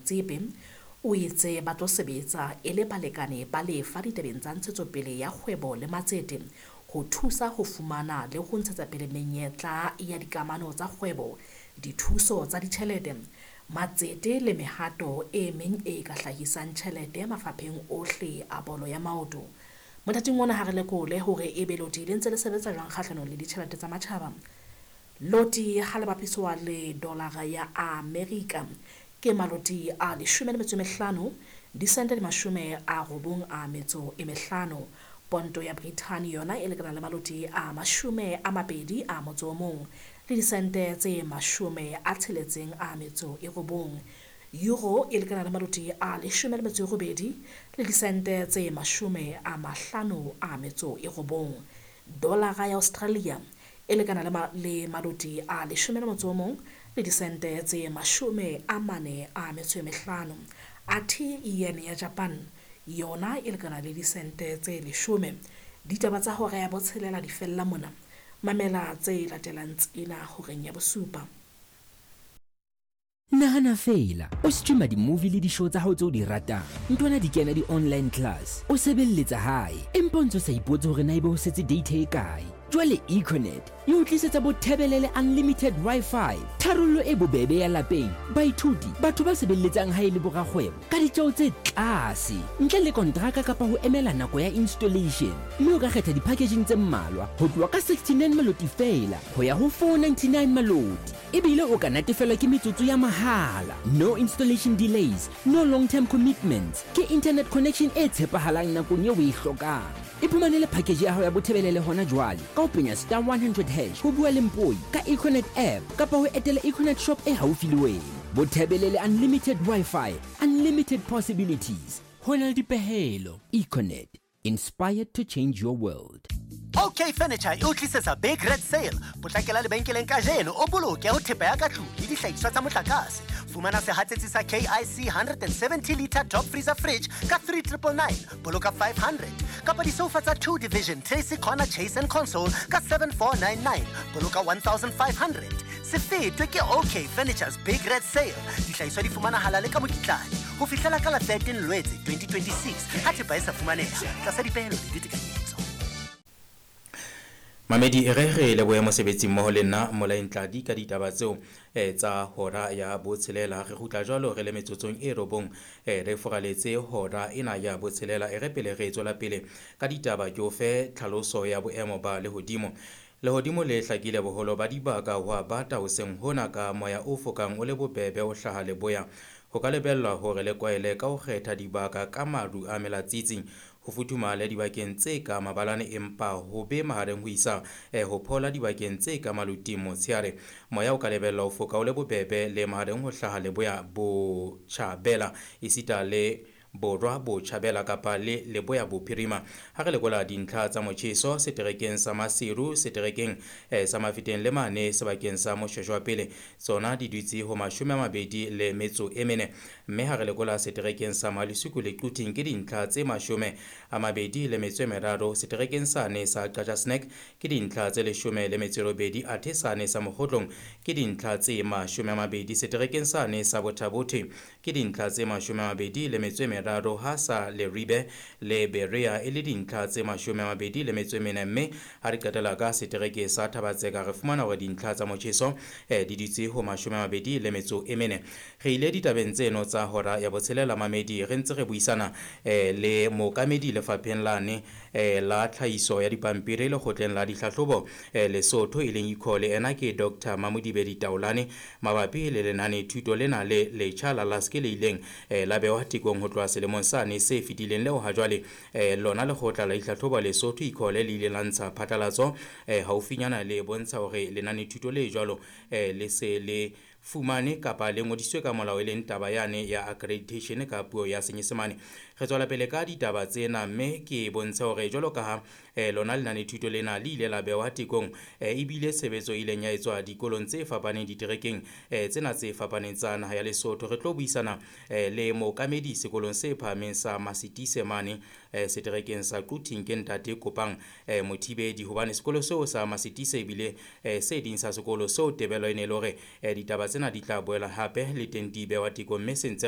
Motsepe o itse ba tlo sebetsa e le balekane ba lefa ditabeng tsa ntshetsopele ya kgwebo le matsete ho thusa ho fumana le ho ntshetsa pele menyetla ya dikamano tsa kgwebo, dithuso tsa ditjhelete, matsete le mehato e meng e ka hlahisang tjhelete mafapheng ohle a bolo ya maoto. Mothating ona ha re lekole hore ebe loti le ntse le sebetsa jwang kgahlanong le ditjhelete tsa matjhaba. Loti ha le bapiswa le dolara ya Amerika ke maloti a 15 disente di 95. Ponto ya Britain yona e lekana le maloti a 21 le disente tse 69. Euro e lekana le maloti a 18 le disente tse 59. Dolara ya Australia e lekana le maloti a 11 le disente tse 45. Athe yen ya Japan yona e lekana le disente tse 10. Ditaba tsa hora ya 6 di fella mona. Mamela tse latelang tsena horeng ya 7. Nahana fela, o streama di-movie le di-show tsa hao tseo di ratang. Ntwana di kena di-online class, o sebelletsa hae, empa o ntso sa ipotse hore na ebe ho setse data e kae. Jwale Econet e o tlisetsa bothebelele unlimited Wi-Fi, tharollo e bobebe ya lapeng, baithuti, batho ba sebelletsang hae le borakgwebo ka ditjeo tse tlase, ntle le kontraka kapa ho emela nako ya installation. Mme o ka kgetha di-packaging tse mmalwa ho tloha ka 69 maloti feela ho ya ho 499 maloti. Ebile o ka natefelwa ke metsotso ya mahala. No installation delays, no long-term commitments. Ke internet connection e tshepahalang nakong eo o e hlokang. Iphumanele package ya hao ya bothebelele hona jwale ka ho penya star 100 hash ho bua le Mpoi ka Econet app kapa ho etela Econet shop e haufi le wena. Bothebelele unlimited Wi-Fi, unlimited possibilities. Ho na le dipehelo. Econet, inspired to change your world. OK Furniture e o tlisetsa Big Red Sale. Potlakela lebenkeleng kajeno o boloke ho thepa ya ka tlung le dihlahiswa tsa motlakase. Fumana sehatsetsi sa KIC 170 liter top freezer fridge ka 3999, boloka 500. Kapa disofa tsa 2 division Tracy Corner Chase and Console ka 7499, boloka 1500. Se fetwe ke OK Furniture's Big Red Sale. Dihlahiswa di fumanahala le ka mokitlane ho fihlela ka la 13 Lwetse 2026 ha thepa e sa fumaneha tlasa dipehelo le ditekanyetso. Mamedi e re lebohe mosebetsi mmoho le nna Molaeng Tladi ka ditaba tseo tsa hora ya 6. Re kgutla jwalo re le metsotsong e 9 re foraletse hora ena ya 6. E re pele re tswela pele ka ditaba ke o fe tlhaloso ya boemo ba lehodimo. Lehodimo le hlakile boholo ba dibaka ho a bata hoseng hona ka moya o fokang o le bobebe o hlaha leboya. Ho ka lebellwa hore le kwaele ka ho kgetha dibaka ka maru a melatsitsi. Ho futhumale dibakeng tse ka mabalane empa ho be mahareng ho isa ho phola dibakeng tse ka maluting motshehare. Moya o ka lebellwa ho foka o le bobebe le mahareng ho hlaha leboya botjhabela esita le borwa botjhabela kapa le leboya bophirima. Ha re lekola dintlha tsa motjheso seterekeng sa Maseru, seterekeng sa Mafeteng le mane sebakeng sa Moshweshwe wa pele, tsona di dutse ho 24. Mme ha re lekola seterekeng sa Malusuku le Quthing ke dintlha tse 23. Seterekeng sane sa Qacha Snack ke dintlha tse 18, athe sane sa Mokgotlong ke dintlha tse 20. Seterekeng sane sa Bothabothe ke dintlha tse 23, ha sa Leribe le Berea e le dintlha tse 24. Mme ha re qetela ka setereke sa Thabatseka re fumana hore dintlha tsa motjheso di dutse ho 24. Re ile ditabeng tseno tsa hora ya 6 mamedi re ntse re buisana le mookamedi lefapheng lane la tlhahiso ya dipampiri lekgotleng la dihlahlobo Lesotho e leng ICOLE. Ena ke Dr. Mamodibedi Taolane mabapi le lenane thuto lena le letjha la LASK le ileng la bewa tekong ho tloha selemong sane se fetileng leo ha jwale lona lekgotla la dihlahlobo Lesotho ICOLE le ile la ntsha phatlalatso haufinyana le bontsha hore lenane thuto le jwalo le se le fumane kapa le ngodiswe ka molao e leng taba yane ya accreditation ka puo ya Senyesemane. Re tswela pele ka ditaba tsena mme ke bontshe hore jwalo ka ha lona lenane thuto lena le ile la bewa tekong ebile tshebetso e ileng ya etswa dikolong tse fapaneng diterekeng tsena tse fapaneng tsa naha ya Lesotho. Re tlo buisana le mookamedi sekolong se phahameng sa Masitise mane seterekeng sa Quthing ke ntate Kopang Mothibedi, hobane sekolo seo sa Masitise ebile se ding sa sekolo seo tebelo e ne le hore ditaba tsena di tla boela hape le teng di bewa tekong mme se ntse